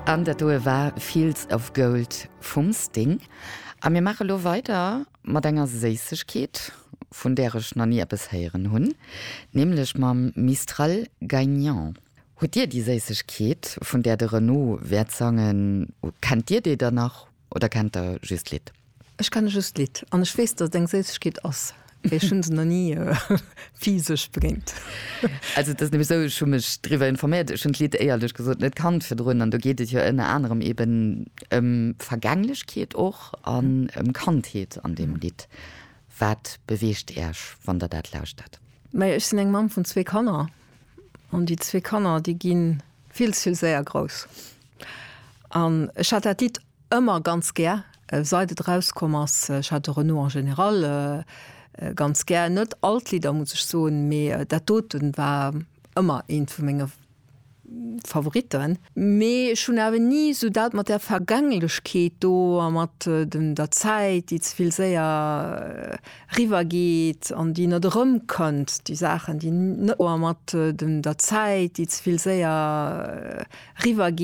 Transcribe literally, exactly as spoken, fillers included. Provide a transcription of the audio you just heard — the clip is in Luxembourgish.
An dat doe war Fields of Gold vum Sting. A mir maache lo weider mat enger Séissegkeet, vun där ech nach ni eppes héieren hunn, nämlech mam Mistral Gagnant. Hutt Dir déi Séissegkeet, vun där de Renaud wäert sangen, kennt Dir déi dann nach oder kennt Der just d'Lidd? Ech kenne just d'Lidd an ech weess, datt et eng Séissegkeet ass. Ech hunn se nach ni physesch begéint. Also et ass nämlech esou, ech hu mech driwwer informéiert, ech hunn d'Lidd éierlech gesot net kannt virdrun an do geet et jo ënner anerem eben ëm Vergänglechkeet och an ëm Kandheet an deem Lidd. Wat beweegt Iech, wann Der dat lauschtert? Majo, ech sinn eng Mamm vun zwee Kanner an déi zwee Kanner, déi gi vill ze vill séier grouss. An ech hat dat Lidd ëmmer ganz gär, seit et erauskomm ass. Ech hat de Renaud en général ganz gär. Net all d'Lidder, muss ech soen, mee dat doten war ëmmer eent vu menge Favoritten. Mee ech hunn awer ni esou dat mat där Vergänglechkeet do a mat dem der Zäit, déi ze vill séier eriwwer geet an déi net erëmkënnt, déi Saachen, déi net a mat dem der Zäit, déi ze vill séier eriwwer geet.